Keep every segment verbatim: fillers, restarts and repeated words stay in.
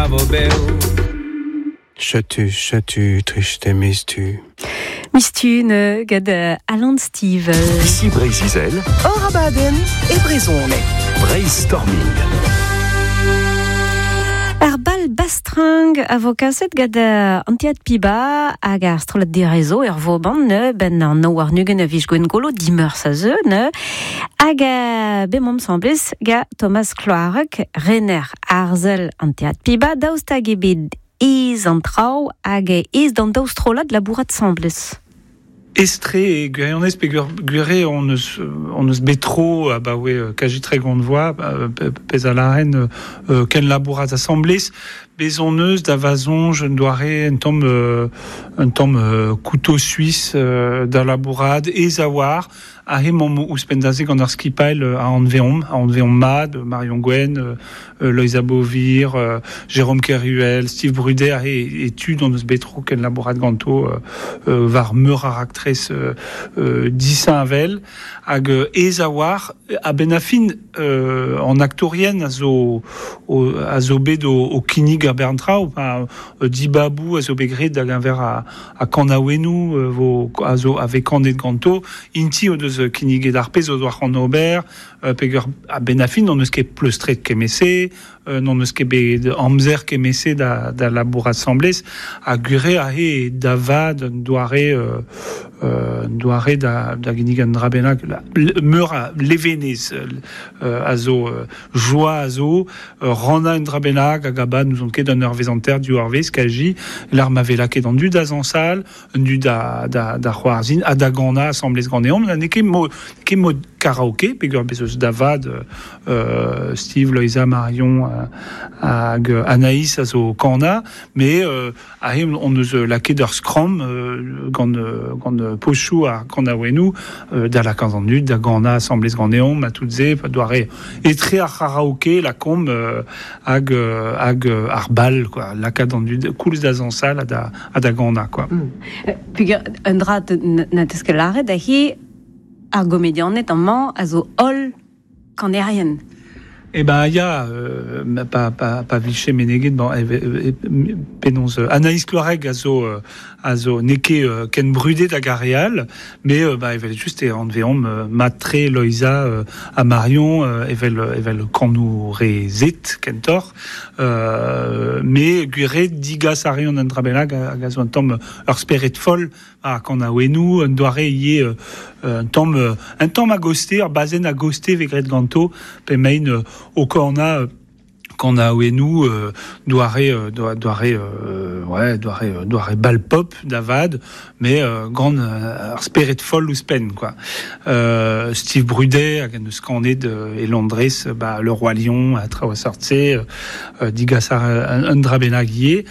vo bev. Chetu, chetu, triste mistu. Mistune gant Alan Stivell. Ici Breizh-Izel. Hor abadenn e brezhoneg. Brainstorming. Ar bal bastring a vo kaset gant an teatr Piba hag ar strollad direzo er Vauban ne ben an no war nugen a vij gwengolo dimeur sa zeu ne hag be mom semblez ga Thomas Cloarec rener arzel an teatr Piba daoust hag ebet ez an traoù hag ez d'an daou strollad labourat semblez. Estre e gwirionez pe gwire on eus, on eus betro a ba oe kaji tre gant voa pez a laren ken labourat assemblez bez on eus da vazonj un doare un tamm un tamm couteau suisse da labourad ez a war a he mom ouzhpenn gant ar skipail a anveomp, a anveomp mad, Marion Gwen, Loïsa Beauvir, Jérôme Keruel, Steve Brudet, a he etud on eus betro ken labourat ganto war meur ar aktrez disañ avel, hag ez a war, a ben a fin an aktorien a zo, a zo bet o, o kinnig ar berntrao, pa dibabou a zo bet graet da genver a, a kanaouennoù vo, a zo ave kanet ganto, inti o deus kinniget ar pezh o doa c'hoant ober, peger a ben a fin n'on eus ket pleustret kemese, n'on eus ket bet amzer kemese da, da labourat semblez, a gure a he da vad un doare, euh, doare da, da ginnig an dra bennak, meur a levenez euh, a zo, joa a zo, ranna un dra bennak, hag a ba nous on ket un ur vez anter du ur vez, kaji, l'arma vela ket an du da zansal, un du da, da, da c'hoarzin, a da gana assemblez ganeomp, na ne ket mo, ket mo karaoke, peger bez eus da vad, euh, Steve, Loïsa, Marion, euh, hag Anaïs a zo kana, mais euh, a he on eus laket ur skram euh, gant, gant pochou a kanaouennoù, euh, da la an dud, da gana assemblez ganeomp, a tout ze, pa doare etre ar karaoke, la komb euh, hag, hag ar bal, quoi, lakaat an dud, koulz da zansal a da, a da gana, quoi. Mm. Peger un dra na teus ket lâret da he ar gomedianed amañ a zo holl kanerien. Eh ben, ya, euh, pa, pa, pa vliche meneget, bon, e, e, penaos, Anaïs Cloarec a zo, a zo neke euh, ken brudet hag ar real, mais euh, bah, evel just e anveomp euh, matre Loïsa euh, a Marion, euh, evel, evel kanou re zet kentor, euh, mais gwire digas a reont an dra bennak hag a zo un tamm ur spered foll a kan a ouenou, un doare ie euh, un tamm un tamm a goste, ur bazen a goste vegret ganto, pe mein euh, o korna kan a ouenou euh, doare doare euh, ouais doare doare bal pop davad, mais euh, gant euh, ar spered foll ouzhpenn, quoi. Euh, Steve Brudet hag an eus kanet e Londres, bah, Le Roi Lion a traoù a sortse, euh, digas ar un, un dra bennak ivez.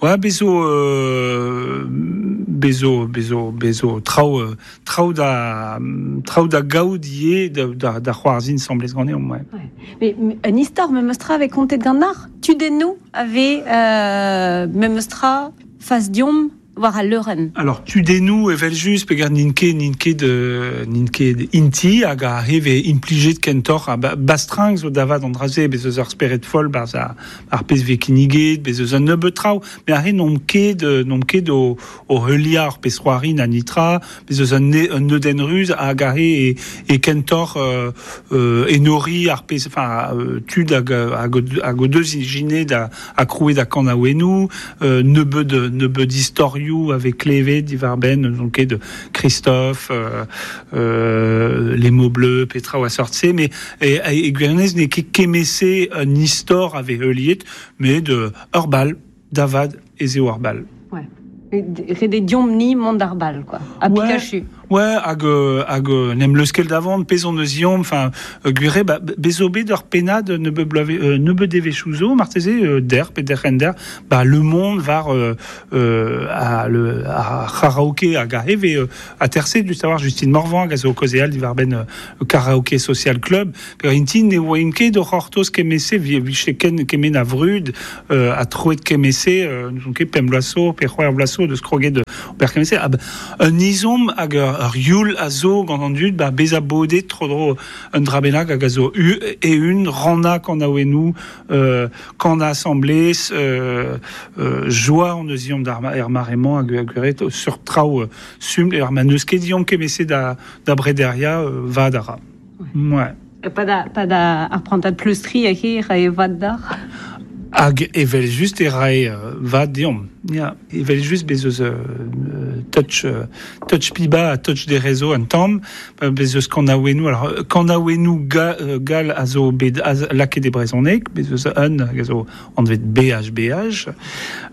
Ouais, bezo euh, bezo bezo bezo traoù traoù da traoù da gaout ivez da, da, da c'hoarzhin semblez ganeomp, ouais. Ouais. Mais un istor me mostra avait kontet gant ar tudennoù avait euh, me mostra fas diom war a leurenn. Alors tudennoù evel just peger n'int ket n'int ket de n'int ket inti hag a heve implijet kentor a ba, bastring zo davad an draze bez eus ar spered foll barz a, ar pezh ve kinniget bez eus un nebeut traoù, mais ar re n'omp ket n'omp ket o, o heuliañ ar pezh c'hoari na nitra, bez eus un, un neudenn ruz hag a re e, e kentor euh, euh, enori ar pezh, enfin euh, tud hag, hag, hag o deus ijinet a, a krouet da kanaouennoù, euh, nebeut nebeut istorioù avec Clévé, Divarben, donc de Christophe, euh, euh, les mots bleus, Petra ou assortse, mais et, et, et Gwernez n'est ket kemese un istor avec heuliet, mais de Urbal, Davad et Zéo Urbal. Ouais. Rede diomp ni mont ar bal, quoi. A Ouais. Pikachu. Ouais, hag, hag nem leuskel d'avant, pezon eus iom, enfin, gure, ba, bezo bet ur pennad ne be blave, euh, ne be devechouzo, marteze, euh, der, pe der render, ba, le monde var, euh, euh, a, le, a karaoke hag a heve, euh, a terse du savoir Justine Morvan, hag a zo kozeal diwar ben euh, karaoke social club, per intin ne oa ket o c'hortoz kemese, vi, viche ken kemen a vrud, euh, a troet kemese, euh, n'ouzon ket pemp bloaz zo, pe c'hwec'h bloaz zo, deus kroget de per kemese, ab, un izom hag ur ur youl a zo gant an dud, ba beza bodet tro dro un drabenag hag a zo u, e un ranna kan a ouenou, euh, kan a assemblés, euh, euh, joa an eus iom d'ar er maremañ hag hag ret sur traoù euh, sum er ma neus ket iom kemese da, da brederia euh, va dara. Ouais. Pa da, pa da ar prantad pleustri a hir e vad d'ar. Hag evel just e rae euh, va deomp. Ya, evel just bez eus euh, touch, euh, touch piba a touch des réseaux an tamm, bez eus kanaouennoù, alors kanaouennoù ga, euh, gal a zo bet a, laket e brezhoneg, bez eus un hag a zo anvet B H B H,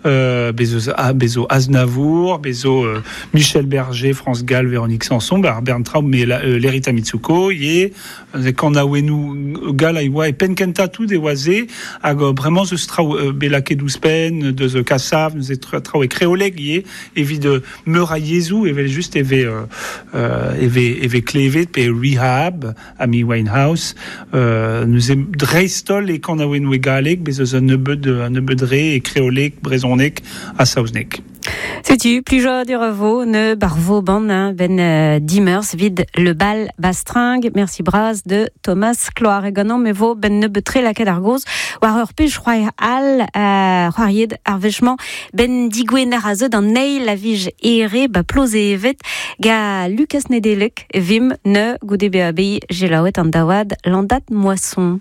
euh, bez eus a, bez zo Aznavour, bez zo euh, Michel Berger, France Gall, Véronique Sanson, ba ar Bern Traub, mais la, euh, Lerita Mitsuko, ye, euh, kanaouennoù gal a oa e penkenta tout e oaze, hag euh, vraiment zeus traoù euh, bet laket ouzhpenn, deus Kassav, neuze traoù e kreoleg ye, evit euh, meur a yezhoù, evel just eve, euh, euh, eve, eve klevet pe Rehab, Amy Winehouse, euh, neuze dreistol e kanaouennoù e galleg, bez eus un nebeud, un nebeud re e kreoleg, brezhoneg ha saozneg. Setu, plijo du revo, ne barvo ban, hein, ben euh, dimers, vid le bal bastring, merci bras de Thomas Cloar e ganan, me vo ben ne betre la ar goz, war ur pej c'hoar al, euh, c'hoaried ar vechement, ben digwener a zo d'an neil a vij ere, ba ploze evet, ga Lucas Nedelec, vim ne goude B A B I, gelaouet an dawad, landat moisson.